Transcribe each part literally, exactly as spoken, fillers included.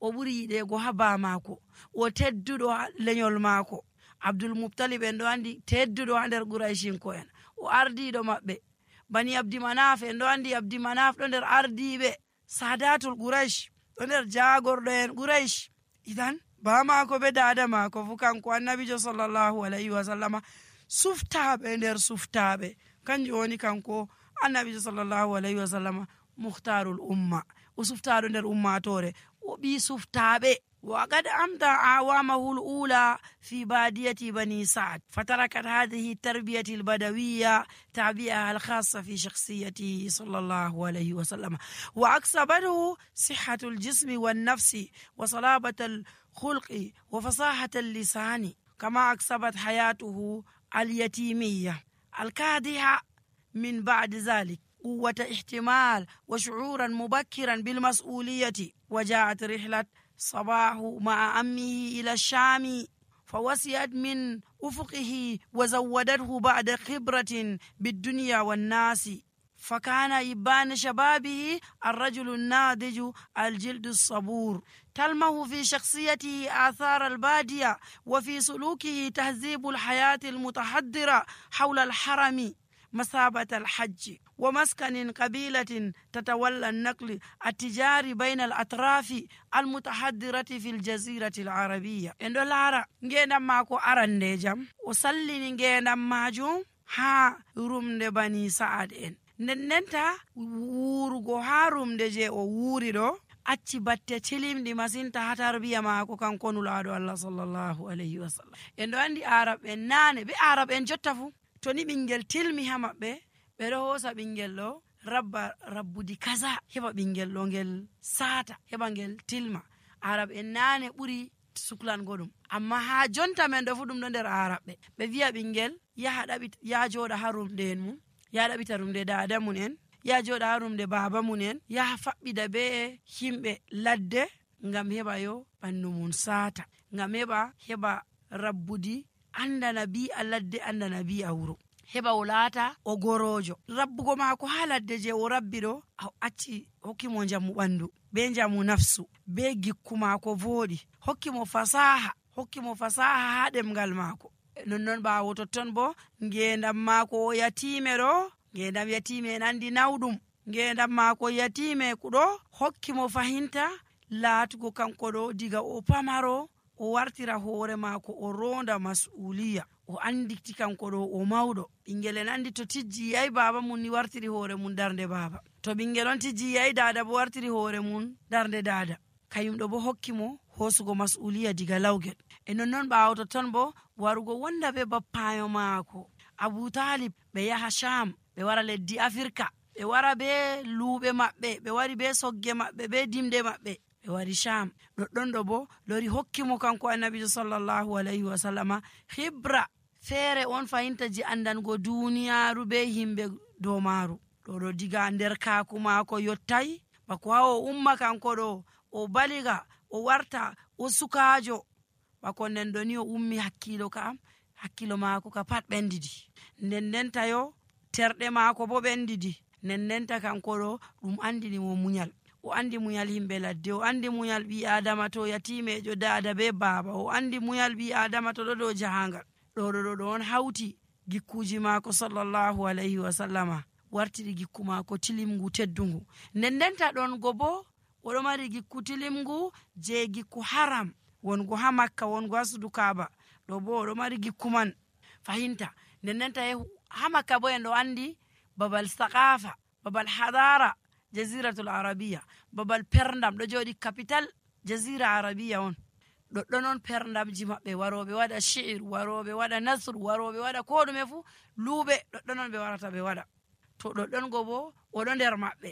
o ɓuri yiɗego ha ba mako, o tedduɗo ha lenyol mako. Abdul Muttalib en ɗo andi tedduɗo ha nder Quraishinko en, o ardiɗo maɓɓe. Bani Abdi Manaf en ɗo andi Abdi Manaf ɗo nder ardiɓe Sadatul Quraish, ɗo nder jagorɗo en Quraish. Idan ba mako be dada mako fu kanko annabijo sallallahu alaihi wa sallama suftaɓe nder suftaɓe, kanjum woni kanko annabijo sallallahu alaihi wa sallama muhtarul umma, o suftaɗo nder ummatore, o ɓi suftaɓe. وقد أمضى أعوامه الأولى في بادية بني سعد، فتركت هذه التربية البدوية تعبئة الخاصة في شخصيته صلى الله عليه وسلم، وأكسبته صحة الجسم والنفس وصلابة الخلق وفصاحة اللسان، كما أكسبت حياته اليتيمية الكادحة من بعد ذلك قوة احتمال وشعورا مبكرا بالمسؤولية. وجاءت رحلة صباح مع أمه إلى الشام، فوسعت من أفقه وزودته بعد خبرة بالدنيا والناس، فكان إبان شبابه الرجل الناضج الجلد الصبور، تلمه في شخصيته آثار البادية، وفي سلوكه تهذيب الحياة المتحضرة حول الحرم مثابة الحج، ومسكن قبيلة تتولى النقل التجاري بين الأطراف المتحضرة في الجزيرة العربية. إن دولارا نجينا ماكو أرندي جام وسلي نجينا ماجوم ها روم دي بني سعد إن ننتا وورغو ها روم دي جي ووري دو acci batte tilimɗi masinta ha tarbiya maako kanko nulaaɗo Allah sallallahu alayhi wa sallam. En ɗo andi arab en naane be arab en jotta fu to ni ɓingel tilmi ha maɓɓe ɓe ɗo hoosa ɓingel ɗo rabba rabbudi kaza heɓa ɓingel ɗo ngel saata heɓa ngel tilma. Arab en naane ɓuri suklango ɗum, amma ha jonta men ɗo fu ɗum ɗo nder arab ɓe ɓe wiya ɓingel yaha ɗaɓita ya joɗa ha rumɗe en mum, ya ɗaɓita rumɗe dada mun en, ya joɗa ha rumɗe baba mun en, yaha faɓɓida be himɓe ladde ngam heɓa yo ɓandu mun saata, ngam heɓa heɓa rabbudi andana bi a ladde andana bi a wuro, heɓa o laata o gorojo. Rabbugo maako ha ladde je o rabbi ɗo a acci hokkimo njamu ɓandu be njamu nafsu be gikku maako voɗi, hokkimo fasaha hokkimo fasaha ha ɗemgal maako. Nonnon ɓawo totton bo ngendam maako o yatime ɗo, ngendam yatime en andi nawɗum, ngendam maako yatime kuɗo hokkimo fahinta laatugo kanko ɗo diga o pamaro o wartira hoore maako o ronda mas'uliya, o anditi kanko ɗo o mawɗo. Ɓingel en andi to tijji yayi baba mun ni wartiri hoore mun darnde baba, to ɓingel on tijji yayi dada bo wartiri hoore mun darnde dada. Kayum ɗo bo hokkimo hosugo mas'uliya diga lawgel. E nonnon ɓawo totton bo warugo wonda be bappayo maako Abu Talib, ɓe yaha Sham, ɓe wara leddi Afrika, ɓe wara be luuɓe maɓɓe, ɓe wari be sogge maɓɓe be dimde maɓɓe, ɓe wari Sham. Ɗoɗɗon ɗo bo lori hokkimo kanko annabijo sallallahu alayhi wa sallama hibra feere on fahinta ji andango duniyaru be himɓe dow maaru. Ɗo ɗo diga nder kaaku maako yottay bako ha o umma kanko ɗo o baliga o warta o sukaajo, bako nden ɗo ni o ummi hakkilo ka hakkilo maako ka pat ɓendidi, nden ndenta yo terɗe maako bo ɓendidi, nden ndenta kanko ɗo ɗum andini mo munyal. O andi munyal himɓe ladde, o andi munyal ɓi adama to yatimejo dada be baba, o andi munyal ɓi adama to ɗo dow jahangal. ɗo ɗo ɗo on hawti gikkuji maako sallallahu alayhi wa sallama wartiri gikku maako tilimgu teddungu. Nden ndenta ɗon go bo oɗo mari gikku tilimgu je gikku haram wongo ha Makka wongo ha sudu Kaaba, ɗo bo oɗo mari gikku man fahinta. Nden ndenta ha Makka bo en ɗo andi babal saqafa, babal hadara jaziratul arabiya, babal perndam ɗo joɗi capital jazira arabiya on. ɗoɗɗon on perndamji maɓɓe, waroɓe waɗa shi'ir, waroɓe waɗa nasru, waroɓe waɗa ko ɗume fu luuɓe, ɗoɗɗon on ɓe warata ɓe waɗa. To ɗoɗɗon go bo oɗo nder maɓɓe,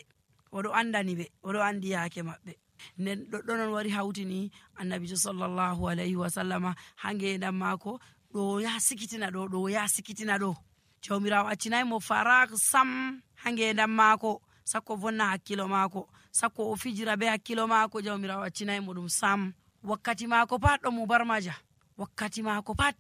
oɗo andani ɓe, oɗo andi yaake maɓɓe. Nden ɗoɗɗon on wari hawtini annabijo sallallahu alayhi wa sallama ha ngendam maako ɗo ya sikitina ɗo, ɗo ya sikitina ɗo. Jawmirawo accinayi mo farak sam ha ngendam maako, sakko vonna hakkilo maako, sakko o fijira be hakkilo maako, jawmirawo accinayi mo ɗum sam. Wakkati maako pat ɗo mubarmaja, wakkati maako pat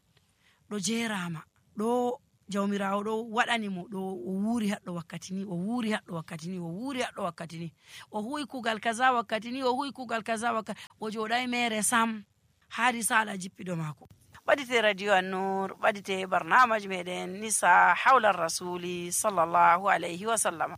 ɗo jerama, ɗo jawmirawo ɗo waɗani mo ɗo o wuuri haɗɗo wakkati ni o wuuri haɗɗo wakkati ni o wuuri haɗɗo wakkati ni o huwi kugal kaza wakkati ni o huwi kugal kaza wakkati o joɗai mere sam ha risala jippiɗo maako. ɓadite radio An-Nur, ɓadite barnamaji meɗen nisa hawla rasuli sallallahu alayhi wa sallam.